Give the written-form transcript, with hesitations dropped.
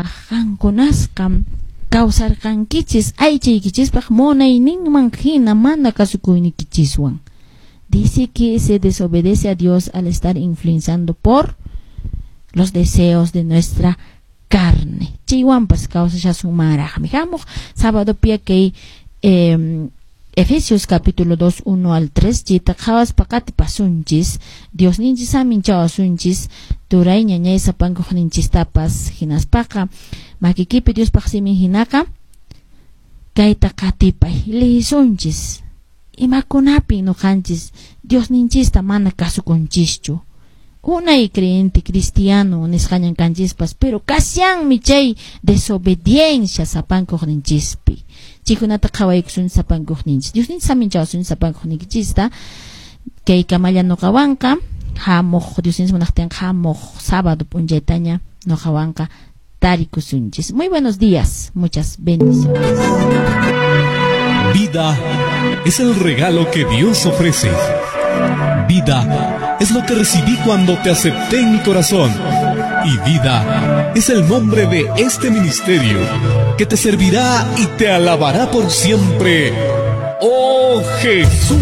Ñawpaq qankunasqam kawsarqankichis aychaykichispaq munayninman hina mana kasukuynikichiswan. Dice que se desobedece a Dios al estar influenciando por los deseos de nuestra carne. Chaywanpas kawsashasunmanraqmi. Hamuq sábado pia kay Efesios capítulo 2, 1 al 3, chayta qhawaspa qatipasunchis, Diosninchis saminchawasunchis, turay ñañay sapankuqninchistapas, hinaspaqa makikipi Diospaq simin hinaqa kayta qatipay, lihisunchis, imakunapi nuqanchis Diosninchista mana kasukunchischu. Unay creyente cristiano nisqañan kanchispas, pero kasyanmi chay desobediencia sapankuqninchispi. Chaykunata qhawaykusun sapankuqninchis. Diosninchis saminchawasun sapankuqninchista. Kay kamalla nuqawanqa hamuq Diosninchis munaqtinqa hamuq sábado p'unchaytaña nuqawanqa tarikusunchis. Muy buenos días, muchas bendiciones. Vida es el regalo que Dios ofrece. Vida es lo que recibí cuando te acepté en mi corazón. Y vida es el nombre de este ministerio que te servirá y te alabará por siempre. ¡Oh Jesús!